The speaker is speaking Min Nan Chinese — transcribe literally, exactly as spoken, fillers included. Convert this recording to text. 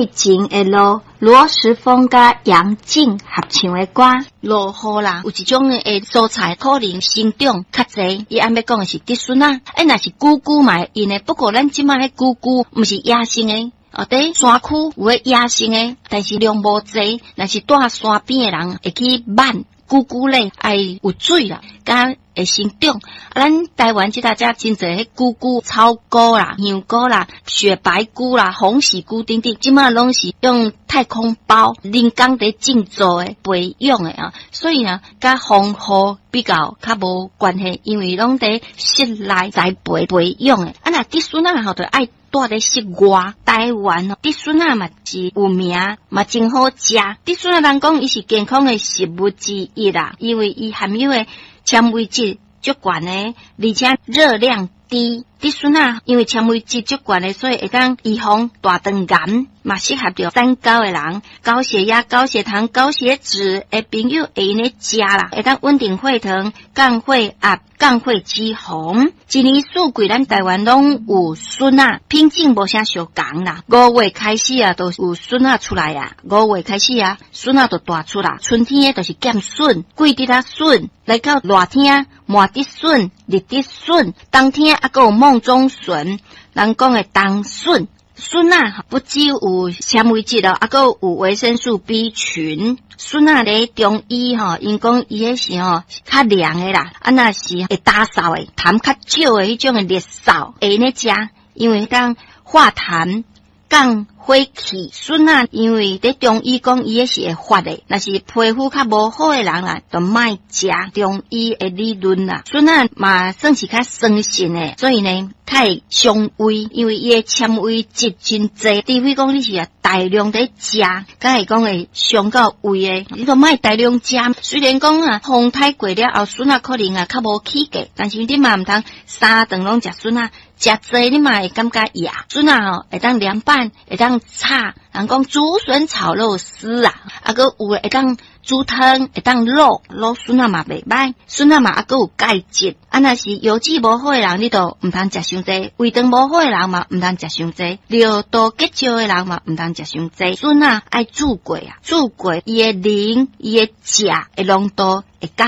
愛情的路，羅時豐佮楊靜合唱的歌。落雨啦，有一種的蔬菜可能生長較濟。伊按欲講的是竹筍仔，欸，若是菇菇嘛會用的。不過咱這擺彼菇菇毋是野生的，哦，佇山區有彼野生的，但是量無濟。若是蹛山邊的人會去挽菇菇咧，愛有水啦，才會生長。啊，咱台灣這搭遮真濟彼菇菇、草菇啦、香菇啦、雪白菇啦、鴻喜菇等等，這擺攏是用太空包人工佇種做的、培養的啊，所以呢，佮風雨比較較無關係，因為攏佇室內栽培培養的。啊，若竹筍仔吼，就愛蹛佇室外。台灣竹筍仔嘛是有名，嘛真好食。竹筍仔人講伊是健康的食物之一啦，因為伊含有的纖維質足懸的，而且熱量低。竹筍仔因為纖維質足懸的，所以會當預防大腸癌，嘛適合著三高的人，高血壓、高血糖、高血脂的朋友會用咧食啦，會當穩定血糖、降血壓、降血脂肪。一年四季，咱台灣攏有筍仔，品種無啥相仝啦。五月開始啊，就有筍仔出來啊。五月開始啊，筍仔就大出來。春天的就是劍筍、桂竹仔筍，來到熱天，麻竹筍、綠竹筍，冬天猶閣有夢中筍，人講的冬筍。筍仔不只有纖維質哦，猶閣有維生素 B 群。筍仔咧中醫吼，𪜶講伊彼是吼較涼的啦，啊若是會打掃的，痰較少的彼種的熱嗽會用咧食，因為當化痰降火氣。筍仔因為佇中醫講伊彼是會發的，若是皮膚較無好的人啦，就莫食。中醫的理論啦，筍仔嘛算是較酸性的，所以呢，較會傷胃，因為伊的纖維質真濟，除非講你是啊大量佇食，才會講會傷到胃的。你都莫大量食。雖然講啊，風颱過了後，筍仔可能啊較無起價，但是你嘛毋通三頓攏食筍仔，食濟你嘛會感覺掖。筍仔吼會當涼拌，會當炒，人講竹筍炒肉絲啊，啊閣有會當煮湯，會當滷滷筍仔嘛袂䆀，筍仔嘛猶閣有鈣質。啊，若是腰子無好的人，你就毋通食傷濟；胃腸無好的人嘛，毋通食傷濟；尿道結石的人嘛，毋通食傷濟。筍仔愛煮過啊，煮過伊的磷、伊的鉀的濃度會降。